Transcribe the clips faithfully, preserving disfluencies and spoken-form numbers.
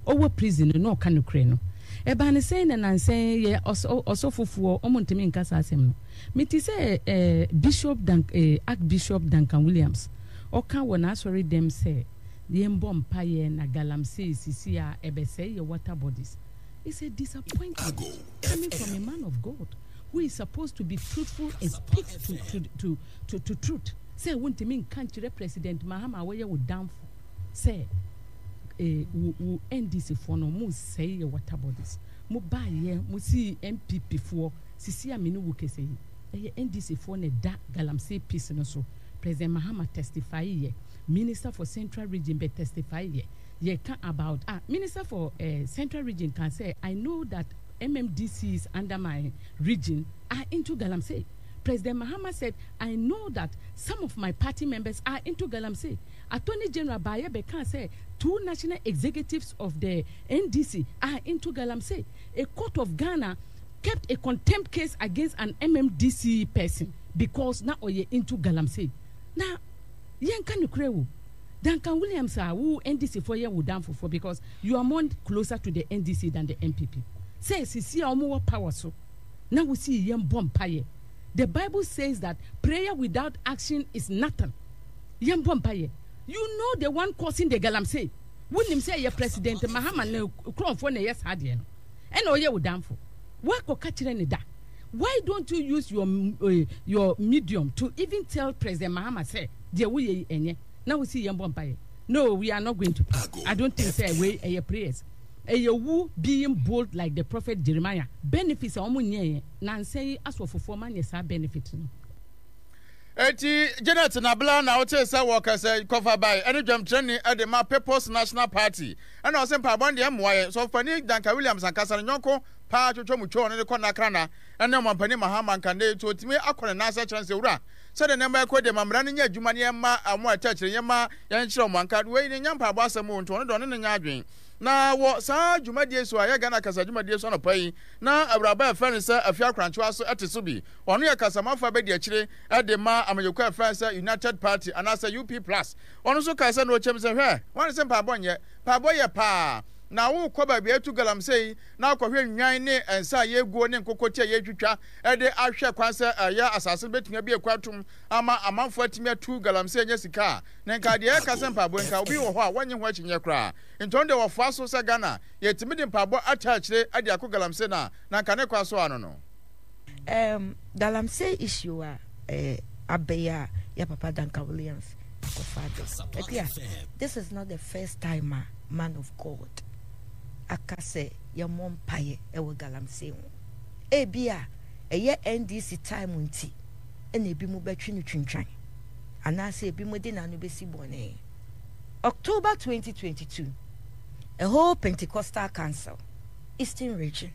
Ɔwɔ prison no na ɔka nokorɛ no. Ɛbaa no sɛn na nansa yi yɛ ɔsɔfofoɔ ɔmo ntumi nka saa asɛm no. Mete sɛ eh, Bishop Dunk, eh, Archbishop Duncan Williams ɔka wɔ n'asɔre dɛm sɛ yɛmbɔ mpaeɛ na galamsey sisi a ɛbɛsɛe yɛ water bodies. It's a disappointment coming from a man of God who is supposed to be truthful and speak to, to, to, to, to truth. Sɛ wontumi nka nkyerɛ President Mahama a wɔyɛ wo damfo sɛ eh, wo, wo N D C foɔ no mo sɛe yɛ water bodies. Mo baayɛ mo si N P P foɔ sisi a me ne wo kɛsɛ yi, ɛyɛ N D C foɔ na ɛda galamsey peace no so. President Mahama testify yɛ, Minister for Central Region bɛ testify yɛ, yɛka about ah Minister for uh, Central Region can say, "I know that M M D Cs under my region are into galamsey." President Mahama said, "I know that some of my party members are into galamsey." Attorney General baayɛ bɛka sɛ two national executives of the N D C are into galamsey. A court of Ghana kept a contempt case against an M M D C person because na ɔyɛ into galamsey. Na yɛnka nokorɛ wo, Duncan Williams a wo N D C foɔ yɛ wo danfofoɔ because you are more closer to the N D C than the N P P, sɛ sisi a wɔn wɔ power so na wosi yɛn bɔ mpaeɛ. The Bible says that prayer without action is nothing. Yɛn bɔ mpaeɛ. You know the one causing the galamsey. Wonim sɛ yɛ President Mahama ne kurɔnfoɔ na ɛyɛ saa deɛ no, ɛna ɔyɛ wo danfo. Wakɔka kyerɛ ne da. Why don't you use your uh, your medium to even tell President Mahama sɛ deɛ woyɛ yi ɛnyɛ, na wosi yɛn bɔ mpaeɛ? No, we are not going to pray. I don't think sɛ wei ɛyɛ prayers. Ɛyɛ wo being bold like the prophet Jeremiah. Benefits a wɔn nyɛɛ nansa yi, asɔfofoɔ ma nyɛ saa benefit no. Eti Janet Nabla na wote sɛ wɔkasa kɔfa bae ɛne dwamkyerɛni ɛde ma People's National Party, ɛna ɔsɛ mpaebɔ no deɛ mmoa yɛn. Sɔfopanin Duncan Williams ankasa ne nyɔnko paa twotwo mu twɛ ɔno de kɔ nakrana ɛne ɔmampanin Mahama nka ne nti ɔtumi akɔ ne nan ase kyerɛ no sɛ, owura, sɛdeɛ nneɛma ɛkɔ deɛ, ma mmara no nyɛ adwuma ne yɛmma ɔmo a ɛtɛ akyire yɛmma yɛnkyerɛ ɔmo anka wei ne nyɛ mpaebɔ asɛm o. Nti ɔno deɛ ɔne ne nyɛ adwen. Na wɔ saa dwumadie so a ɛyɛ Ghana kasa dwumadie so anɔpa yi, na awuraba a ɛfrɛ no sɛ Afia Akrantewa so ɛte so bi. Ɔno yɛ kasamafo a bɛdi akyire de ma amanyɔkuo a ɛfrɛ sɛ United Party anaasɛ U P plus. Ɔno nso kaa sɛ na ɔkyɛm sɛ, hwɛ, wɔn sɛ mpaebɔ nyɛ mpaebɔ yɛ paa, na wokɔ baabi a ɛtu galamsey na akɔhwɛ nnwan ne nsa a yɛguo ne nkokɔti a yɛtwitwa de ahwɛ kwan sɛ ɛyɛ asase no bɛtumi abie kwan atom ama amanfoɔ atumi atu galamsey anya sika a, na nka deɛ ɛka sɛ mpaebɔ nka obi wɔ hɔ a wɔnyɛ ho akyinnyeɛ koraa. Nti ɔno deɛ wɔfoa so sɛ Ghana yɛtumi de mpaebɔ ata akyire de akɔ galamsey no a, na nka ne kwa so ano no. um, galamsey issue a eh, abɛyɛ a yɛ papa Duncan Williams akɔfa ade akua, this is not the first time a man of God aka sɛ yɛmmɔ mpaeɛ ɛwɔ galamsey ho. Ebi a ɛyɛ N D C time nti ɛna ebi mu bɛtwe no twintwan anaasɛ ebi mu de n'ano bɛsi bɔne. October twenty twenty-two, a whole Pentecostal council, Eastern Region,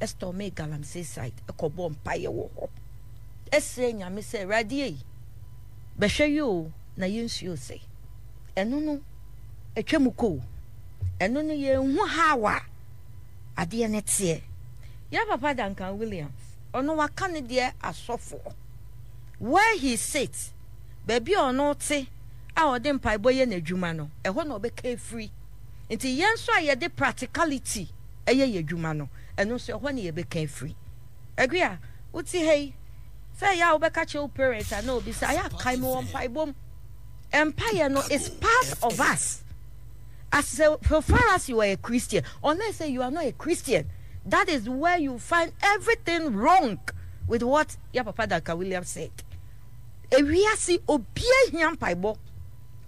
ɛstormee galamsey site ɛkɔbɔ mpaeɛ wɔ hɔ, ɛsrɛ Nyame sɛ, Awurade yi bɛhwɛ yi o, na yɛnsuo sɛ ɛno no atwa mu kɔ o, ɛno no yɛnhu how a adeɛ no teɛ. Yɛ papa Duncan Williams, ɔno waka ne deɛ asɔfoɔ where he sit, baabi a ɔno te a ɔde mpaebɔ yɛ n'adwuma no, ɛhɔ na ɔbɛka efiri. Nti yɛn nso a yɛde practicality ɛyɛ yɛ adwuma no, ɛno nso ɛhɔ na yɛbɛka efiri. Agua wote ha yi sɛ ɛyɛ a wobɛka kyerɛ wo parents a na obi sɛ ayɛ akae me wɔ mpaebɔ mu. Mpaeɛ no is part of us as so far as you are a Christian. Unless say you are not a Christian, that is where you find everything wrong with what ya papa Duncan Williams said. Ewiase obiara hia mpaebɔ,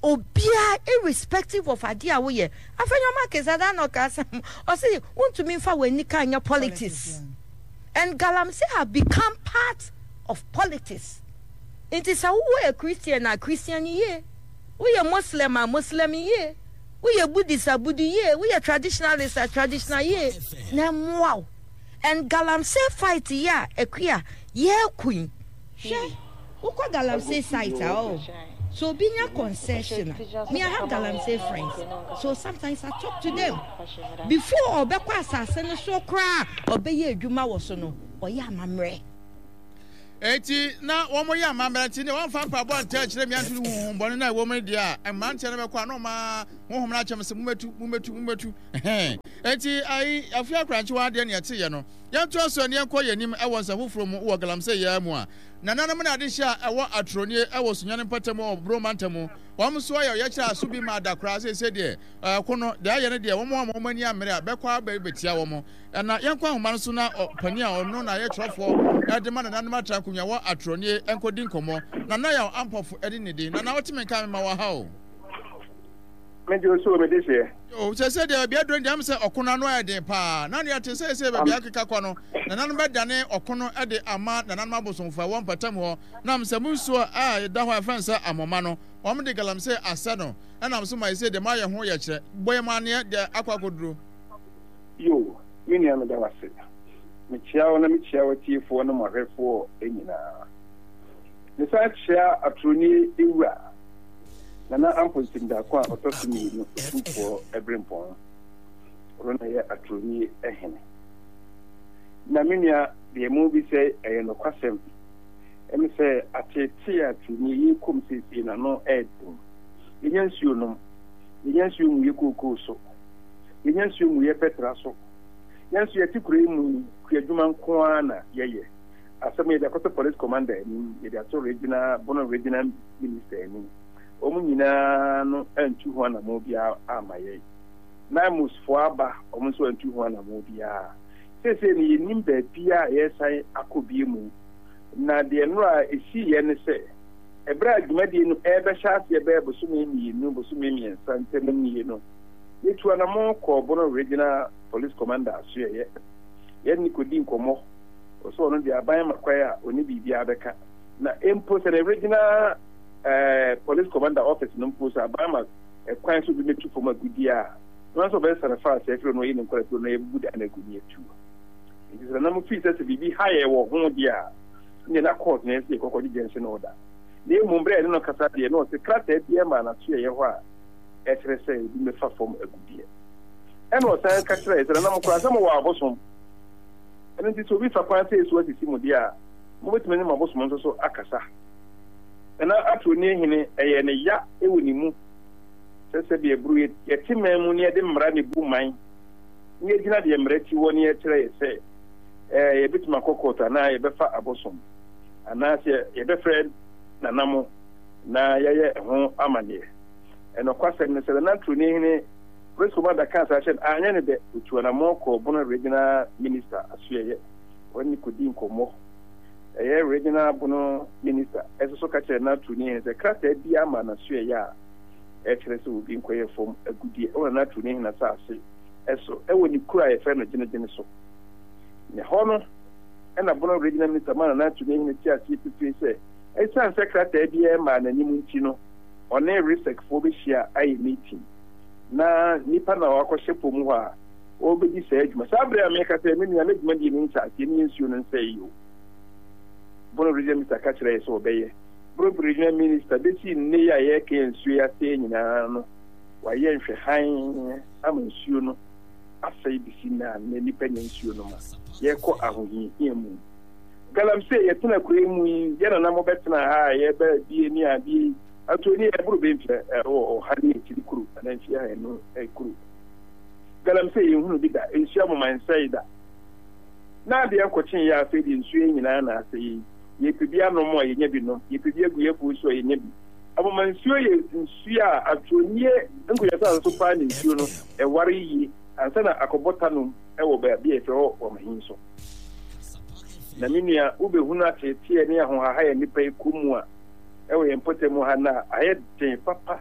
obiara, irrespective of adeɛ a woyɛ. Afenyo Markin na ɔka asɛm, ɔsi wontumi nfa w'ani ka nyɛ politics, and galamsey have become part of politics. Nti sɛ wowɔ a Christian a, Christian yie, woyɛ Muslim a, Muslim yie, woyɛ Buddhist a, Buddha yie, woyɛ traditionalist a, traditional yie na ɛmmoa wo. And galamsey fight yi a akua yɛɛko yi, hwɛ, wokɔ galamsey site a, oh, so obi nya concession a, me, I have galamsey friends, so sometimes I talk to them before ɔbɛkɔ asase no so koraa, ɔbɛyɛ adwuma wɔ so no, ɔyɛ amammerɛ. Eti na wɔn yɛ amammerɛ, nti ne wɔmfa mpaebɔ nta akyerɛ mmea nto honhom bɔne no a ɛwɔ mu no deɛ a, mmeranteɛ no bɛkɔ a na ɔma Honhom no akyɛm sɛ mommɛtu, mommɛtu, mommɛtu. Ɛhɛn. Enti ayi afei akorankyewa adeɛ ne ɛteeɛ no. Yɛntoa so ne yɛnkɔ yɛn anim wɔ nsɛm foforɔ mu wɔ galamsey yi ara mu a nananom ne adehyeɛ a ɛwɔ Atronie wɔ Sunyani mpɔtam wɔ Brong mantam wɔn nso ayɛ ɔyɛkyerɛ a so bi ma da koraa seesei deɛ ɛko no deɛ ayɛ no deɛ wɔn a wɔn ani ammere a bɛkɔ aba bɛtia wɔn. Na yɛnkɔ ahoma no so na ɔpanin a ɔno na yɛ twerɛfoɔ de ma nananom atra nkonnwa wɔ Atronie nkɔdi nkɔmmɔ. Nana Yaw Ampɔfo ne ne din. Nana wote me nka a mema wo aha o. Megye wo so o, mede hyeɛ. O, seesei deɛ baabi aduro no deɛ ɛm sɛ ɔko no ano ayɛ den paa. Na deɛ ɛte seesei baabi akeka kɔ no, nananom bɛdane ɔko no de ama nananom abosomfo a ɛwɔ mpɔtam hɔ. Nam sɛ mo nsuo a ɛda hɔ a yɛfrɛ no sɛ Amoma no, wɔn de galamsey asɛ no. Ɛnam so ma seesei deɛ moayɛ ho yɛkyerɛ. Bɔ yɛn amanneɛ deɛ akɔ akɔduro. Yo, me nua meda wo ase. Mekyea wo na mekyea w'atiefoɔ ne mo ahwɛfoɔ nyinaa. Mesan kyea Atoroni Wura. Nana Amponsem Darko a ɔtɔ so mmienu, Otumfoɔ Berempɔn. Ɔno na ɛyɛ Atoroni hene. Na me nua, deɛ morebisa yi, ɛyɛ nokwasɛm. Ɛne sɛ ateetee a Atoroni yɛrekɔ mu seesei no, ano yɛ den. Yɛnya nsuo nom, yɛnya nsuo ngu yɛ kookoo so, yɛnya nsuo ngu yɛ pɛtra so. Yɛn nso yɛte kuro yi mu yi, kuadwuma nko ara na yɛyɛ. Asɛm yɛde akɔto Police Commander anim, yɛde ato Regional, Bono Regional Minister anim. Wɔn nyinaa no antu ho anammɔn biara amma yɛn. NAIMOS foɔ aba, wɔn nso antu ho anammɔn biara. Seesei no yɛnnim baabi a yɛresan akɔ bio mu. Na deɛ nnora a ɛsiiɛ ne sɛ, ɛberɛ a dwumadie no ɛrebɛhyɛ aseɛ bɛyɛ bosome mmienu, bosome mmiɛnsa ntam nie no, yɛtuu anammɔn kɔɔ Bono Regional Police Commander asoɛeɛ. Yɛne no kɔdii nkɔmmɔ. Ɔsɛ ɔno deɛ aban ma kwan a ɔne biribiara bɛka. Na mpo sɛ ne regional eh, police commander office no mpo sɛ aban ma kwan sɛ obi mɛtu fam agudeɛ a, na sɛ ɔbɛsesa no faa sɛ afiri no ɔyɛ ne nkɔla firi no yɛbubu dan no agu ne atu. Nti sɛ nana mo fii sɛ sɛ biribi ha yɛ wɔ ho deɛ a, ne na court na yɛsɛ yɛkɔkɔ gye gyɛnse order. Na mmom berɛ a yɛne no kasa deɛ na ɔsɛ krataa biara maa n'asoɛeɛ hɔ a ɛkyerɛ sɛ obi mɛfa fam agudeɛ. Ɛna ɔsan ka kyerɛɛ sɛ nana mo koraa sɛ mowɔ abosom. Ɛno nti sɛ obi fa kwan sei so asisi mo deɛ a, mobɛtumi ne mo abosom nso so akasa. Nana Atoroni hene, ɛyɛɛ no ya wɔ ne mu sɛ sɛdeɛ aburo yɛte man mu na yɛde mmara na ɛbu man na yɛgyina deɛ mmara ti wɔ na yɛkyerɛ yɛ sɛ ɛɛ yɛbɛtumi akɔ kɔɔto anaa yɛbɛfa abosom anaasɛ yɛbɛfrɛ nana mo na yɛayɛ ɛho amanneɛ. Ɛnɔkwasɛm ne sɛ Nana Atoroni hene Police Commander kaa saa kyerɛ no, anyɛ no dɛ, otuu anamɔn kɔɔ Bono Regional Minister asoɛeɛ, ɔne no kɔdii nkɔmmɔ. Ɛyɛ Regional Bono Minister nso so ka kyerɛɛ Nana Turuni hene sɛ krataa biara mmaa n'asoɛeɛ a ɛkyerɛ sɛ obi nkɔyɛ fam agudeɛ wɔ Nana Turuni hene asase so wɔ ne kuro a yɛfrɛ no Gyene-Gyene so. Na ɛhɔ no na Bono Regional Minister maa Nana Turuni hene tee aseɛ pefee sɛ ɛsiane sɛ krataa biara mmaa n'anim nti no, ɔne RESEC foɔ bɛhyia ayɛ meeting. Na nnipa na wɔakɔhyɛ po mu hɔ a wɔrebɛdi saa adwuma. Saa berɛ a meka sɛ, me nua, na dwumadie no nhyɛ aseɛ ne yɛn nsuo no nsɛe o. Bono Regional Minister ka kyerɛɛ yɛ sɛ wɔbɛyɛ. Bono Regional Minister, bɛsi nnɛ yi a yɛreka yɛn nsuo yi asɛe nyinaa no, wayɛ nhwɛhan ama nsuo no asɛe bɛsi nnɛ a nnɛ nnipa nya nsuo no ma yɛrekɔ ahohiahia mu. Galamsey, yɛtena kuro yi mu yi, yɛn nana mobɛtena ha a yɛba bie ne adeɛ yi, Ato ni ɛboro bɛ mfeɛ ɔha ne akyiri koro anaa mfeɛ ahanu koro. Galamsey yɛnhunu bi da, nsuo amoma nsɛe da. Na adeɛ nkɔkye yɛ afei deɛ nsuo yi nyinaa na asɛe yi. Yɛpɛ bi anom a yɛnya bi nom, yɛpɛ bi agu yɛn afuo so a yɛnya bi. Amoma nsuo yɛ nsuo a atonie nkonnwa asase so paa na nsuo no ɛware yie ansa na akɔbɔ tanom wɔ baabi a yɛfrɛ hɔ Wamahin so. Na me nua wobɛhunu ateeteɛ ne ahohaha a nnipa yi kɔ mu a wɔ yɛn mpɔtam ha no a, ayɛ den papa.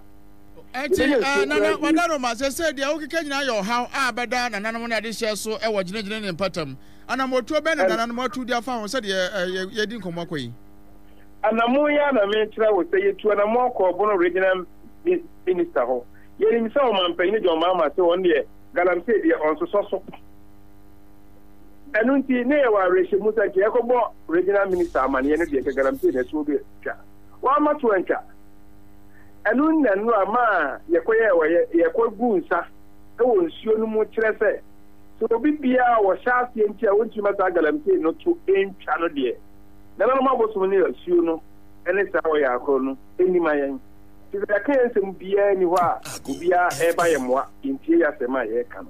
Enti, eh, Nana Wadaroma, sɛsɛ deɛ wokeka nyinaa yɛ ɔhaw a bɛda nananom ne adehyɛ so wɔ gyinagyina ne mpɔtam. Anammɔtuo bɛn na nananom atu de afa ho sɛdeɛ eh, yɛdi nkɔmmɔ kɔ yi? Anammɔn yi ara na mekyerɛ wo sɛ yɛtu anammɔn kɔɔ Bono Regional Minister hɔ. Yɛnim sɛ ɔmampanin John Mahama sɛ ɔno deɛ galamsey deɛ ɔnsosɔ so. Ɛno nti, na yɛwɔ awerɛhyɛmu sɛ nka yɛkɔbɔ Regional Minister amanneɛ no deɛ, nka galamsey na ɛtoɔ bɛtwa. Wamma to antwa. Ɛno nna nnora maa yɛkɔyɛɛ ɔyɛ, yɛkɔguu nsa wɔ nsuo no mu kyerɛ sɛ, sɛ obi biara a ɔhyɛ aseɛ nti a ɔntumi ma saa galamsey no to ntwa no deɛ, nananom abosom ne asuo no ne saa ɔyɛ akoro no nni ma yɛn. Nti sɛ yɛka yɛn nsɛm biara nni hɔ a obiara ɛreba yɛn mmoa, yɛntie yɛn asɛm a yɛreka no.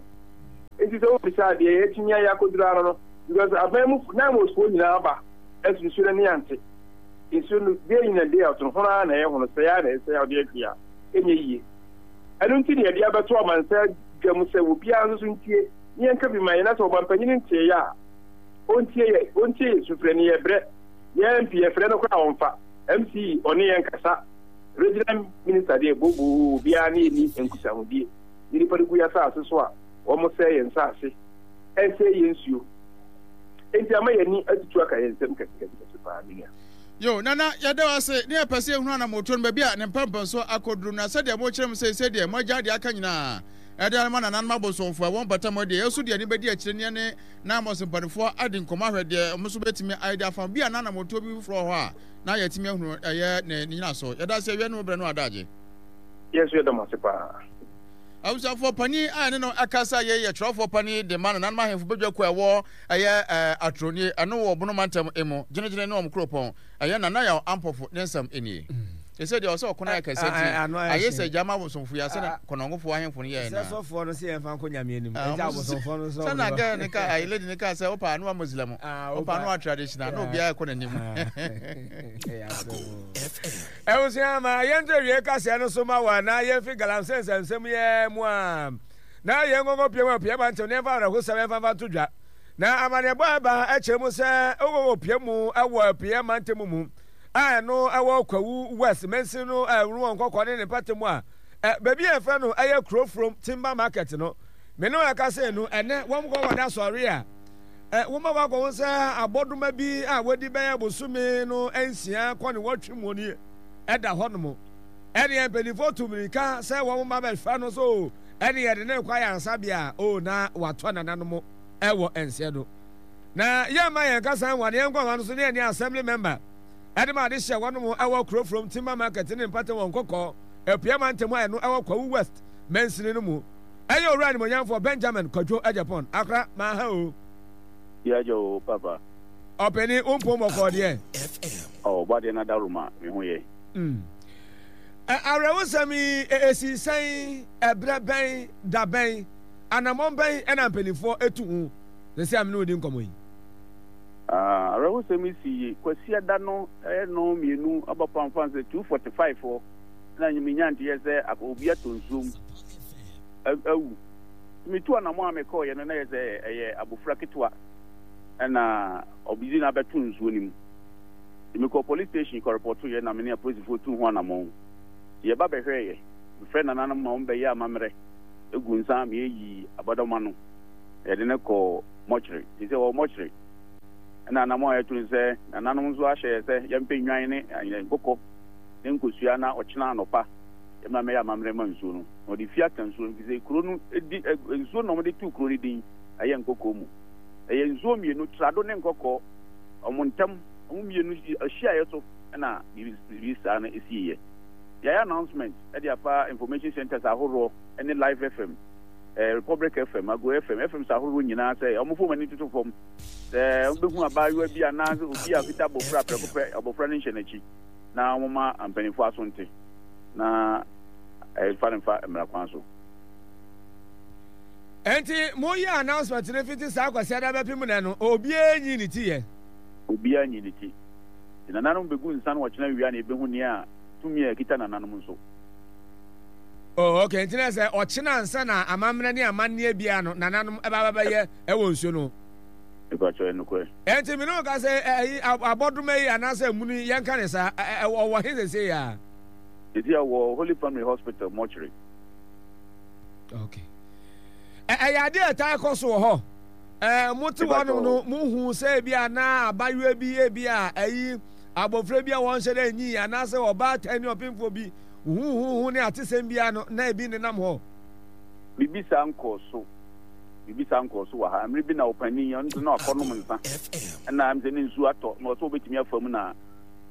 Nti sɛ wobisa a, deɛ yɛatumi ayɛ akɔduru ara no, because aban mu NAIMOS foɔ nyinaa aba, ɛso nsuo no ani ante. Nsuo no day in and day out no, hono ara na ɛyɛ hono, sɛe ara na ɛsɛe a wode ahwie a, ɛnyɛ yie. Ɛno nti na yɛde abɛto amansan dwa mu sɛ obiara nso so ntie na yɛnka bi ma yɛn, na sɛ ɔmampanyin nteeɛ a, ɔntie yɛ, ɔntie yɛ sufrɛ no, yɛbrɛ. Yɛn M P yɛfrɛ no koraa a ɔmfa, M C E ɔne yɛn nkasa, Regional Minister deɛ booboo obiara ne yɛn nni nkutahodie. Ne nnipa no gu yɛn asase so a, wɔsɛe yɛn nsase, ɛsɛe yɛn nsuo. Enti ama yɛn ani atutu aka yɛn nsam kɛsekɛsekɛse paa, me nua. Yo, Nana, yɛda wo ase, ne yɛpɛ sɛ yɛhunu anammɔntuo no, baabi a ne mpɛmpɛnsoɔ akɔduru, na sɛdeɛ mokyerɛ mu seesei deɛ, moagyae deɛ aka nyinaa de ama nananom abosomfoɔ a ɛwɔ mpɔtam hɔ deɛ, yɛn nso de yɛn ani bɛdi akyire ne yɛne Naamos mpanimfoɔ adi nkɔmmɔ ahwɛ deɛ wɔn nso bɛtumi ayɛ de afa ho. Bi a na anammɔntuo bi foforɔ wɔ hɔ a na yɛatumi ahunu ɛyɛ ne ne nyinasoɔ. Yɛda ase awia ne wo berɛ no adagye. Yɛn nso yɛda mo ase paa. Abusuafoɔ panin a ɛne no ɛkasa yei yɛ twerɛfoɔ panin de ma nananom ahemfo badwakuo a ɛwɔ ɛyɛ Atronie, ɛno wɔ Bono mantam mu, Gyinagyina ne wɔn kuropɔn, ɛyɛ Nana Yaw Ampofo ne nsɛm nie. Ɛsɛ deɛ ɔsɛ ɔko no ayɛ kɛseɛ nti ayɛ sɛ gyama abosomfo yi asɛ na kɔnɔngofoɔ ahemfo no yɛɛ na. Sɛ sɔfoɔ no sɛ yɛmfa nkɔ Nyame anim ɛnti abosomfoɔ no nso sɛ na gɛ ne ka ayi lady ne ka sɛ wopa ano wa Muslim wopa ano wa traditional na obiara ɛkɔ n'anim. Abusua ma yɛnto awiei kaseɛ no so ma wo anaa yɛmfi galamsey nsɛmnsɛm yi ara mu a na yɛn nkɔnkɔ pue mu apue mantew na yɛmfa awerɛhosɛm yɛmfa mfa nto dwa. Na amanneɛbɔ a ɛba kyerɛ mu sɛ wokɔkɔ pue mu wɔ apueɛ mantam mu a ɛno ɛwɔ Kwawu West mansin no a ɛwɔ nkɔkɔ ne ne mpata mu a baabi a yɛfrɛ no ɛyɛ Kurofurom Timber Market no me ne wo ɛka sɛ no ɛnɛ wɔn kɔkɔ da sɔre a Woma wɔakɔhu sɛ abɔdoma bi a wadi bɛyɛ bosome no nsia kɔ ne wɔtwe mu nie da hɔnom. Ɛneɛ mpanimfoɔ tu mmirika sɛ wɔn mma bɛhwɛ no so ɛne yɛde ne rekɔ ayaresabea a o na watɔ nananom wɔ nseɛ do. Na yɛmma yɛn kasa nwa na yɛnkɔ nwa no so ne yɛne assembly member ɛde ma ade hyɛ wɔnom ɛwɔ Kurofurom Timber Market ne mpata wɔn nkɔkɔɔ Apua mantam a ɛno ɛwɔ Kwawu West mansini no mu. Ɛyɛ Owura Animuonyamfoɔ Benjamin Kwadwo Agyapong, Accra, Maha o. Yɛagya o papa. Ɔpanin, wo mpom bɔkɔɔ deɛ? Oh, ɔbɔadeɛ no adaworoma, me ho yɛ. Mm. Ɛ, awerɛhosɛm yi, ɛ, esii sɛn, ɛberɛ bɛn, da bɛn, anammɔn bɛn ɛna mpanimfoɔ etu ho sɛsɛ a me ne wo di nkɔmmɔ yi? Ah, awerɛhosɛm yi sii Kwasiada no ɛyɛ nnɔn mmienu aba pamfan sɛ two forty five hɔ na menya nteɛ sɛ obi atɔ nsuom. awu. Nti metuu anamɔn a mekɔeɛ no na ɛyɛ sɛ ɛyɛ abofra ketewa na ɔde no abɛto nsuo no mu. Nti mekɔɔ police station kɔrepɔtoeɛ na me ne apolisifoɔ tuu ho anamɔn. Nti yɛba bɛhwɛeɛ. Mefrɛɛ nananom ma wɔbɛyɛɛ amammerɛ guu nsa ma yɛyii abɔdɔma no na yɛde no kɔɔ mɔkyere. Nti sɛ ɔwɔ mɔkyere. Ɛna anamɔn a yɛtu no sɛ nananom nso ahyɛ yɛ sɛ yɛmpɛ nnwan ne nkokɔ ne nkosua na ɔkyena anɔpa yɛmmra mmɛyɛ amammerɛ ma nsuo no. Na ɔde fi aka nsuo no, efisɛ kuro no di nsuo na wɔde too kuro no din, ɛyɛ Nkɔkɔɔ mu. Ɛyɛ nsuo mmienu, Trado ne Nkɔkɔɔ, wɔn ntam, wɔn mmienu hyiaeɛ so na biribi saa no siiɛ. Yɛayɛ announcement de afa information centres ahoroɔ ne Live F M, Republic F M, Ago F M, F Ms ahoroɔ nyinaa sɛ wɔmfa wɔn ani ntoto fam sɛ wɔbɛhu abaayewa bi anaasɛ obi a ɔkita abɔfra prɛko pɛ, abɔfra no nhyɛ n'akyi na wɔmma mpanimfoɔ aso nte na Ɛmfa no mfa mmara kwan so. Enti mo yɛ announcement no fiti saa Kwasiada bɛpem nnɛ no obiara nyii ne ti yɛ? Obiara nyii ne ti. Nti nananom begu nsa no ɔkyena awia na yɛbɛhu nea tumi a ɛkita nananom nso. Oh ok, nti na sɛ ɔkyena ansa na amammerɛ ne amanneɛ biara no nananom ɛba bɛbɛyɛ ɛwɔ nsuo no ho? Mepakyɛw, ɛyɛ nokorɛ. Enti me ne wo ka sɛ ɛyi abɔdoma yi anaasɛ amunu yi yɛnka ne saa, ɔwɔ he sesei a? Sisi a ɔwɔ Holy Family Hospital mortuary. Okay. Ɛyɛ adeɛ a ɛtaa kɔ so wɔ hɔ. Ɛɛ mo te hɔnom no mo hu sɛ ebi a na abayewa bi ebi a ɛyi abɔfra bi a wɔnhyɛ dɛ nyi anaasɛ ɔbaatan ne ɔpemfoɔ bi huhuhu ne atesɛm bi ano na ebi nenam hɔ. Biribi saa nkɔɔ so. Biribi saa nkɔɔ so wɔ ha. Mmere bi na ɔpanin ɔno nso na wakɔnom nsa ɛna ɛm sɛ ne nsuo atɔ na ɔsɛ ɔbɛtumi afa mu na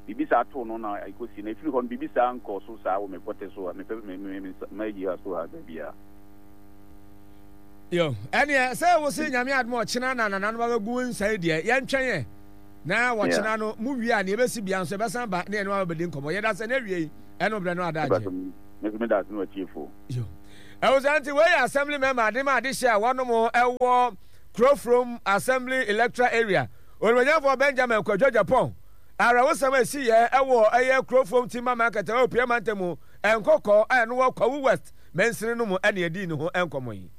Biribi saa too no na ɛkɔsi, na ɛfiri hɔ no biribi saa nkɔɔ so saa wɔ me pɔtɛ so ha, me pɛ, me, me, me, m'ayi ha so ha baabiara. Yo, ɛneɛ sɛ wo se Nyame adom a ɔkyena na nananom abɛgu nsa yi deɛ, yɛntwɛn ɛ na wɔkyena no mo wie a neɛ ɛbɛsi bia nso yɛbɛsan ba ne yɛne wo abɛdi nkɔmmɔ. Yɛda sɛ ne awiei Ɛno brɛ no adagye. Me nso meda ase ne w'atiefoɔ. Yo. Ɛwɔ nti wei yɛ assembly member ade ma ade hyɛ a wɔnom ɛwɔ Kurofrom Assembly Electoral Area. Onimonyamfoɔ Benjamin Kwadwo Agyapong. Awerɛhosɛm a ɛsi yɛ ɛwɔ ɛyɛ Kurofrom Timber Market ɛwɔ Pia Mantam mu Nkɔkɔ a ɛno wɔ Kwawu West mansini no mu ɛna ɛdii ne ho nkɔmmɔ yi.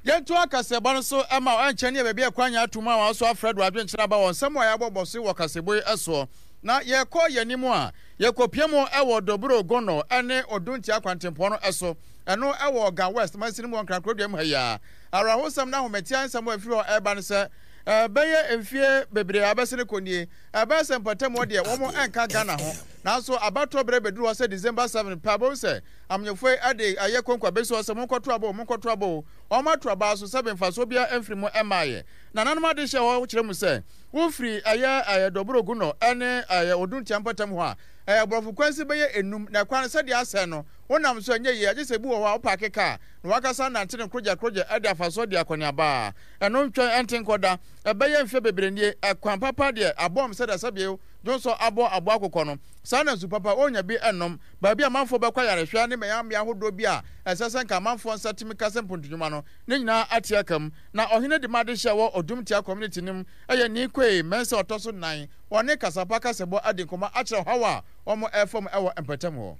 Yɛntoa kaseɛbɔ no so ma wo, ɛnkyɛ ne yɛ baabi a ɛkwan nyɛ ato mu a wɔaso afrɛ do adwenkyerɛ aba wɔ nsɛm a yɛabɔ bɔ so wɔ kaseɛbɔ yi soɔ. Na yɛkɔ yɛn anim a, yɛkɔpia mu wɔ Doboro Gono ne Oduntia kwantempɔn no so, ɛno wɔ Ga West mansini mu wɔ Nkran kurodua mu ha yi ara. Awerɛhosɛm ne ahometeɛ nsɛm a ɛfiri hɔ reba ne sɛ, bɛyɛ mfie bebree a abɛsene kɔ nie, ɛbɛyɛ sɛ mpɔtam hɔ deɛ wɔn nka Ghana ho, nanso abatoɔ berɛ bɛduru hɔ sɛ December seven pɛ a, wobɛhu sɛ Amanyɔfoɔ yi de ayɛ konko abɛsi hɔ sɛ monkɔto aba o, monkɔto aba o. Wɔato aba so sɛbe mfasoɔ biara mfiri mu mmaeɛ. Nananom adehyeɛ hɔ kyerɛ mu sɛ, wofiri ɛyɛ ɛyɛ Doboro Gunɔ ne ɛyɛ Oduntia mpɔtam hɔ a, ɛyɛ aborɔfo kwansin bɛyɛ nnum, na ɛkwan no sɛdeɛ asɛe no, wonam so a ɛnyɛ yie, agye sɛ ebi wɔ hɔ a wopaake kaa na w'ankasa nante no korogya-korogya de afa so adi akɔneaba. Ɛno ntwɛn ɛnte nkɔ da. Ɛbɛyɛ mfeɛ bebree nie, ɛkwan papa deɛ abɔm sɛdeɛ sɛbe dwonsɔ abɔ aboa akokɔ no, saa na nsu papa wɔnnya bi nnom. Baabi a amanfoɔ bɛkɔ ayarehwɛ ne mmeammea ahodoɔ bi a ɛsɛ sɛ nka amanfoɔ nsa tumi ka sɛ mpontunwuma no, ne nyinaa ate aka mu. Na ɔhene de ma adehye a ɛwɔ Odum Tia Community no mu yɛ Nii Kwei Mensah ɔtɔ so nnan. Wɔne Kasapa Kasɛbɔ adi nkɔmmɔ akyerɛ ɔhaw a wɔrefa mu wɔ mpɔtam hɔ.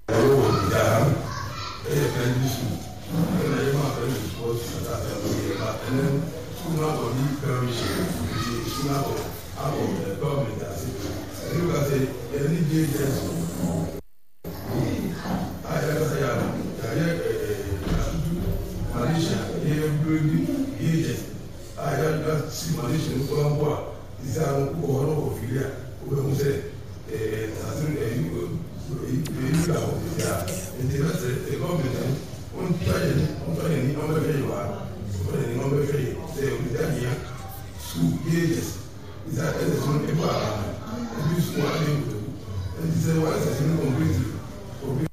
Ɛwɔ Ghana ɛyɛ primary school ɛna yɛma primary foɔ sua kasa no yɛ ba ɛnɛ school no akɔ di permission nti school no akɔ akɔ government ase ɛne ka sɛ yɛne J H S a yɛkasa yɛ ano yɛayɛ atutu foundation yɛ build J H S a yɛasi foundation no koraa mpo a sisi ano wokɔ hɔ na wokɔ fili a wobɛhu sɛ asase no ɛyi ɛyi da hɔ sisi a. Nti yɛbɛsrɛ sɛ government no ɔntwa yɛn ɔntwa yɛn ani ɔmbɛhwɛ yɛn wɔ ha, ɔntwa yɛn ani ɔmbɛhwɛ yɛn sɛ obi ahia school J H S sɛ S S no ebu aba no ebi nso wɔ ade nkotoku nti sɛ wɔ S S no completely obi.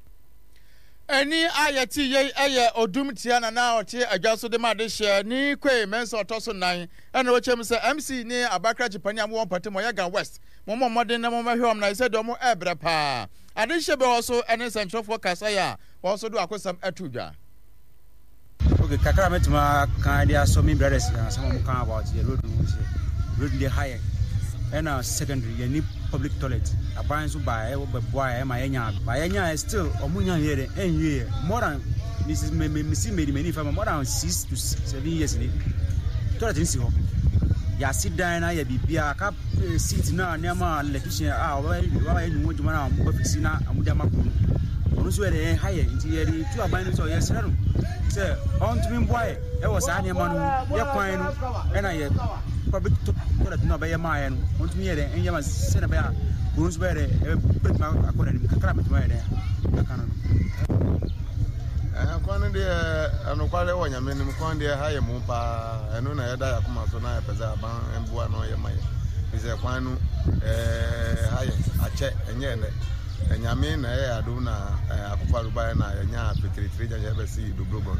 Ɛnne a yɛte yei yɛ Odum Tia Nana a ɔte adwa so de ma adehyeɛ ne Kwei Mensah ɔtɔ so nnan ɛna ɔkyerɛ mu sɛ M C ne Abakrakye panin a mowɔ mpɔtam ɔyɛ Ga West, mommɔ mmɔden na mommɛhwɛ wɔn na ɛsɛ deɛ wɔn ɛrebrɛ paa. Adehyeɛ bi wɔ hɔ so ɛne nsɛntwerɛfoɔ kasaeɛ a wɔn nso de wakosɛm ɛto dwa. Okay, kakra mɛtumi aka de asɔ me brothers asɛm a wɔka about the road no sɛ road deɛ ha yɛ ɛna secondary yɛni public toilet. Aban nso ba ɛbɛboa yɛ ɛma yɛnya ba yɛnya still ɔmo nya yɛ dɛ ɛnwie yɛ more than mrs me me mesi medi m'ani fa ma more than six to seven years ni toilet nsi hɔ. Yɛasi dan na yɛ biribiara ka eh, seat na nneɛma a electrician a ɔbɛyɛ ɔbɛyɛ ne ho adwuma na ɔmo bɛfisi na ɔmo de ama kuro no ɔno nso yɛ dɛ ɛha yɛ. Nti yɛde tu aban no sɛ yɛsrɛ no sɛ ɔntumi mboa yɛ ɛwɔ saa nneɛma no mu, yɛ kwan no ɛna yɛ public toilet no a ɔbɛyɛ maa yɛ no, ɔntumi yɛ dɛ ɛnyɛ ma sɛnɛ bɛyɛ a kuro nso bɛyɛ dɛ ɛbɛtumi akɔ n'anim kakra bɛtumi ayɛ dɛ aka no no. Ɛɛ kwan no deɛ ɛnokware wɔ Nyame anim, kwan deɛ ha yɛ mu paa. Ɛno na yɛda yɛ akoma so na yɛpɛ sɛ aban mboa na ɔyɛ ma yɛ fi sɛ kwan no ɛɛ ha yɛ akyɛ ɛnyɛ ɛnɛ. Nyame na ɛyɛ adom na Akufo Addo baeɛ na yɛnya fitiritiri gya yɛbɛsi Dobrogon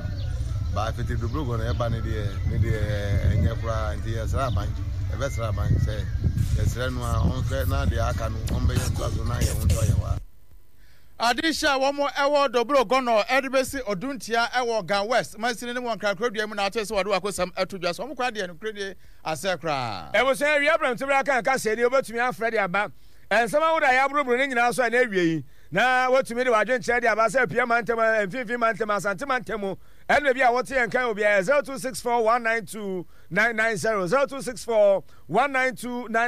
ba fitiri Dobrogon ɛba ne deɛ ne deɛ ɛnyɛ koraa. Nti yɛsrɛ aban, yɛbɛsrɛ aban sɛ yɛsrɛ no a ɔnhwɛ na deɛ aka no ɔmbɛyɛ ntoa so na yɛn ho ntɔ yɛn hɔ a. Adehyɛ a wɔn wɔ Dobro Gɔnɔ de bɛsi Oduntia wɔ Ga West mansini no mu wɔ Nkrakoradua mu na ate sɛ wɔde wakosɛm ato dwa sɛ wɔn kwan deɛ nokorɛ nie asɛe koraa. Abusua awia berɛmtobere aka nka sɛɛ ni, wobɛtumi afrɛ de aba nsɛm ahodoɔ a yɛaboroboro ne nyinaa so a ɛna awie yi, na wotumi de w'adwenkyerɛ de aba sɛ Apia mantam, Mfimfini mantam, Asante mantam mu ɛne baabi a wote yɛn nka wɔ biara. zero two six four one nine two nine nine zero, zero two six four one nine two nine.